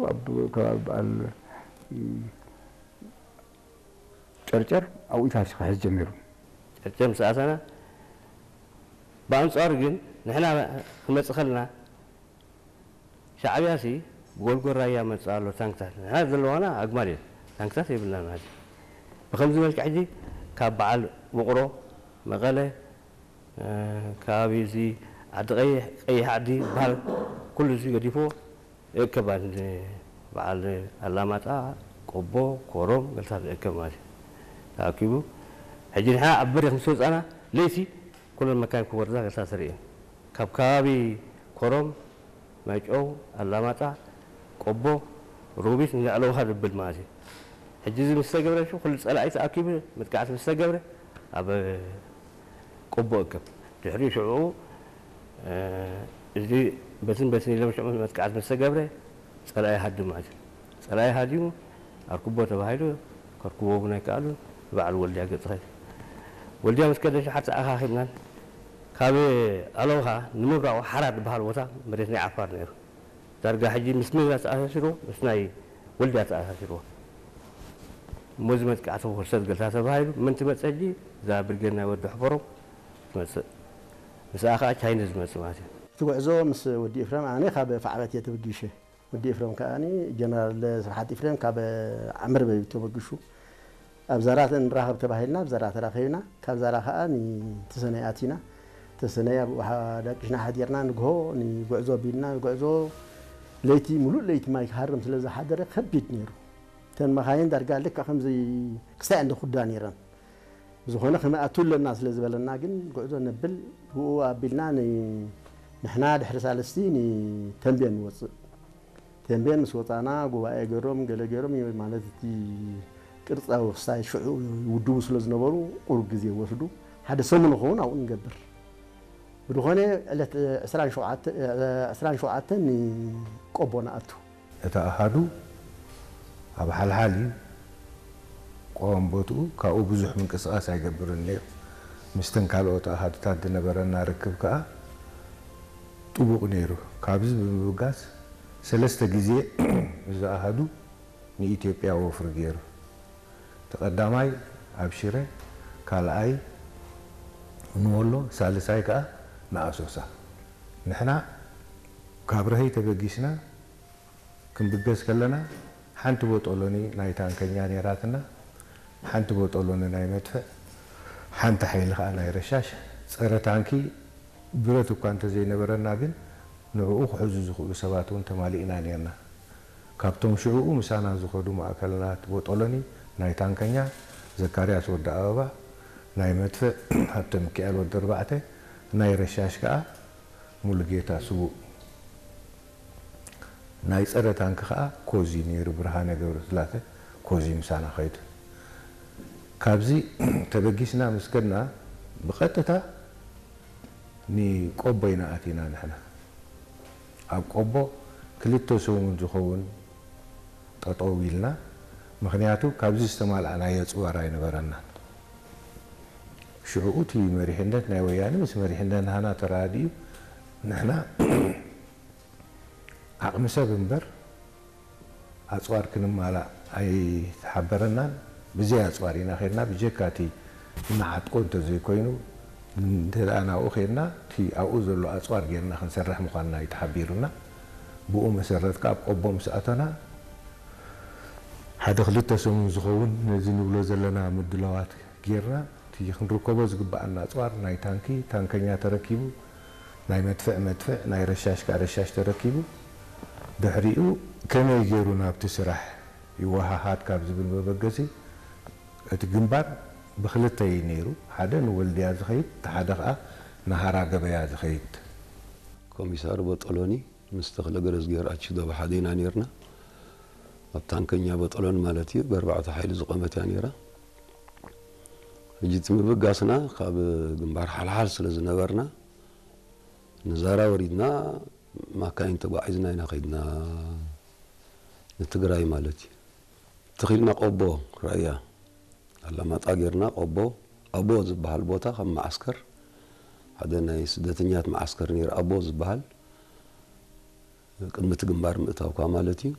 ኣብ ከባቢ በዓል ጨርጨር ኣብኡ ኢታሲ ክሕዝ ጀሚሩ። ጨርጨር ምስ ኣተና፣ ብኣንጻሩ ግን ንሕና ክመጽእ ከለና ሻዕብያሲ ብጎልጎል ራያ መጽእ ኣሎ ታንክታት። ንሕና ዘለዋና ኣግማል እዩ። ታንክታት የብልና ማለት እዩ። ብኸምዚ መልክዕ ሕጂ ካብ በዓል ውቕሮ፣ መቐለ፣ እ፣ ከባቢ እዚ ዓዲ ቀይሕ፣ ቀይሕ ዓዲ ዝበሃል ኩሉ እዚ ገዲፎ ይእከብ ማለት እዩ። በዓል ኣላማጣ፣ ቆቦ፣ ኮረም፣ ገልታት ይእከብ ማለት እዩ። ተኣኪቡ ሕጂ ንሕና ኣብ በሪኽ ምስ ወጻና ለይቲ ኩለን መካይን ክወርዳ ገልታት ተርእየን። ካብ ከባቢ ኮረም፣ ማይጨው፣ ኣላማጣ፣ ቆቦ፣ ሮቢት ንላዕለውኻ ዝብል ማለት እዩ። ሕጂ እዚ ምስ ተገብረ ኩሉ ጸላኢ ተኣኪቡ መጥቃዕቲ ምስ ተገብረ ኣብ ቆቦ እከብ። ድሕሪ ሽዑ፣ እ፣ እዚ በትን በትን ኢሎም ሽዑ መጥቃዕቲ ምስ ተገብረ ጸላኢ ሃድም ማለት እዩ። ጸላኢ ሃዲሙ ኣርክቦ ተባሂሉ ከርክቦ እውን ኣይከኣሉን። ንበዓል ወልድያ ገጽ ኸይዱ። ወልድያ ምስ ከደ ሽሓት ተኣኻኺብናን ካብ ኣለውኻ ንምብራቑ ሓራ ዝበሃል ቦታ መሬት ናይ ዓፋር ነይሩ። ዳርጋ ሕጂ ምስ መግዛ ተኣሳሲርዎ፣ ምስ ናይ ወልድያ ተኣሳሲርዎ። እሞ እዚ መጥቃዕቲ ክወሰድ ገልታ ተባሂሉ፣ መን ትመጽእ ሕጂ? እዛ ብርጌድ ናይ ወዲ ሕፈሮም ትመጽእ። ምስኣ ኸኣ ቻይና ዝመጽእ ማለት እዩ። እቲ ጉዕዞ ምስ ወዲ ኤፍረም፣ ኣነ ካብ ፋዕበት እየ ተበጊሸ። ወዲ ኤፍረም ከኣ ጀነራል ስብሓት ኤፍረም ካብ ዓምር በቢት ተበጊሹ። ኣብ ዛራ ንራኸብ ተባሂልና፣ ኣብ ዛራ ተራኺብና። ካብ ዛራ ከኣ ንተሰነይ ኣቲና። ተሰነይ ኣብ ውሓ ዳቂሽና ሓዲርና፣ ንግሆ ንጉዕዞ ቢልና፣ ጉዕዞ ለይቲ፣ ሙሉእ ለይቲ ማይ ክሃርም ስለ ዝሓደረ ከቢድ ነይሩ። እተን መኻይን ዳርጋ ልክዕ ከምዚ ክሳይ እንደ ኩዳ ነይረን። ብዝኾነ ክንኣቱ ኣለና ስለ ዝበለና ግን ጉዕዞ ነብል፣ ብኡ ኣቢልና ን-፣ ንሕና ድሕሪ ሳልስቲ ንተንቤን ንወጽእ። ተንቤን ምስ ወጻና ጉባኤ ገይሮም፣ ገለ ገይሮም፣ ማለት እቲ ቅርጻዊ ክሳይ ሽዑ ይውድቡ ስለ ዝነበሩ ቁሩብ ግዜ ወስዱ። ሓደ ሰሙን ክኸውን ኣብኡ ንገብር። ብዝኾነ ዕለት ዕስራን ሸውዓተ፣ ዕስራን ሸውዓተን ንቆቦ ንኣቱ። እቲ ኣሃዱ ኣብ ሓልሓል እዩ። ቆም ቦትኡ ካብኡ ብዙሕ ምንቅስቓስ ኣይገብርን ነይሩ። ምስተን ካልኦት ኣሃዱታት ዝነበረና ርክብ ከኣ ጥቡቕ ነይሩ። ካብዚ ብምብጋስ ሰለስተ ግዜ እዚ ኣሃዱ ንኢትዮጵያ ወፍሪ ገይሩ። እቲ ቀዳማይ ኣብ ሽረ፣ ካልኣይ ንወሎ፣ ሳልሳይ ከኣ ንኣሶሳ። ንሕና ካብ ረሀይ ተበጊስና ክንብገስ ከለና ሓንቲ ቦጦሎኒ ናይ ታንከኛ ነይራትና፣ ሓንቲ ቦጦሎኒ ናይ መድፍዕ፣ ሓንቲ ሓይሊ ከኣ ናይ ረሻሽ። ጸረ ታንኪ ብረት እኳ እንተዘይነበረና ግን ንዕኡ ክሕዙ ዝኽእሉ ሰባት እውን ተማሊእና ነይርና። ካብቶም ሽዕኡ ምሳና ዝኸዱ ማእከላት ቦጦሎኒ ናይ ታንከኛ ዘካርያስ ወዲ ኣበባ፣ ናይ መድፍዕ ሃብተ ሚካኤል ወዲ ኣርባዕተ፣ ናይ ረሻሽ ከኣ ሙሉጌታ ስዉእ። ናይ ጸረ ታንኪ ከኣ ኮዚ ነይሩ፣ ብርሃነ ገብረስላሴ ኮዚ ምሳና ኸይዱ። ካብዚ ተበጊስና ምስ ከድና ብቐጥታ ንቆቦ ኢና ኣቲና ንሕና። ኣብ ቆቦ ክልተ ሰሙን ዝኸውን ጠጠው ኢልና። ምኽንያቱ ካብዚ ዝተማልኣናዮ ኣጽዋር ኣይነበረናን። ሽዑ እቲ መሪሕነት ናይ ወያነ ምስ መሪሕነት ናህና ተራዲኡ ንሕና ዓቕሚ ሰብ እምበር ኣጽዋር ክንማላእ ኣይተሓበረናን። ብዘይ ኣጽዋር ኢና ኸድና። ብጀካ እቲ ንዓጥቆ እንተዘይኮይኑ፣ እንተ ደኣ ናብኡ ኸድና፣ እቲ ኣብኡ ዘሎ ኣጽዋር ጌርና ክንሰርሕ ምዃንና እዩ ተሓቢሩና። ብኡ መሰረት ከኣ ኣብ ቆቦ ምስ ኣተና፣ ሓደ ክልተ ሰሙን ዝኸውን ነዚ ንብሎ ዘለና ምድላዋት ጌርና፣ እቲ ክንርከቦ ዝግብኣና ኣጽዋር ናይ ታንኪ፣ ታንከኛ ተረኪቡ፣ ናይ መድፍዕ፣ መድፍዕ፣ ናይ ረሻሽ ከኣ ረሻሽ ተረኪቡ። ድሕሪኡ ከመይ ገይሩ ናብቲ ስራሕ ይወሃሃድ ካብ ዝብል መበገሲ፣ እቲ ግንባር ብኽልተ እዩ ነይሩ። ሓደ ንወልድያ ዝኸይድ፣ እቲ ሓደ ከኣ ንሃራ ገበያ ዝኸይድ። ኮሚሳር ቦጦሎኒ ምስ ተኽለ ገረዝጊሄር ኣችዶ ብሓደ ኢና ነይርና። ኣብ ታንከኛ ቦጦሎኒ ማለት እዩ፣ ብኣርባዕተ ሓይሊ ዝቖመት እያ ነይራ። ሕጂ እቲ ምብጋስና ካብ ግንባር ሓልሓል ስለ ዝነበርና፣ ንዛራ ወሪድና ማካይን ተጓዒዝና ኢና ከይድና፣ ንትግራይ ማለት እዩ። ተኺልና ቆቦ ራያ ኣላማጣ ጌርና፣ ቆቦ ኣቦ ዝበሃል ቦታ ከም መዓስከር፣ ሓደ ናይ ስደተኛት መዓስከር ነይሩ፣ ኣቦ ዝበሃል፣ ቅድሚ እቲ ግንባር ምእታውካ ማለት እዩ።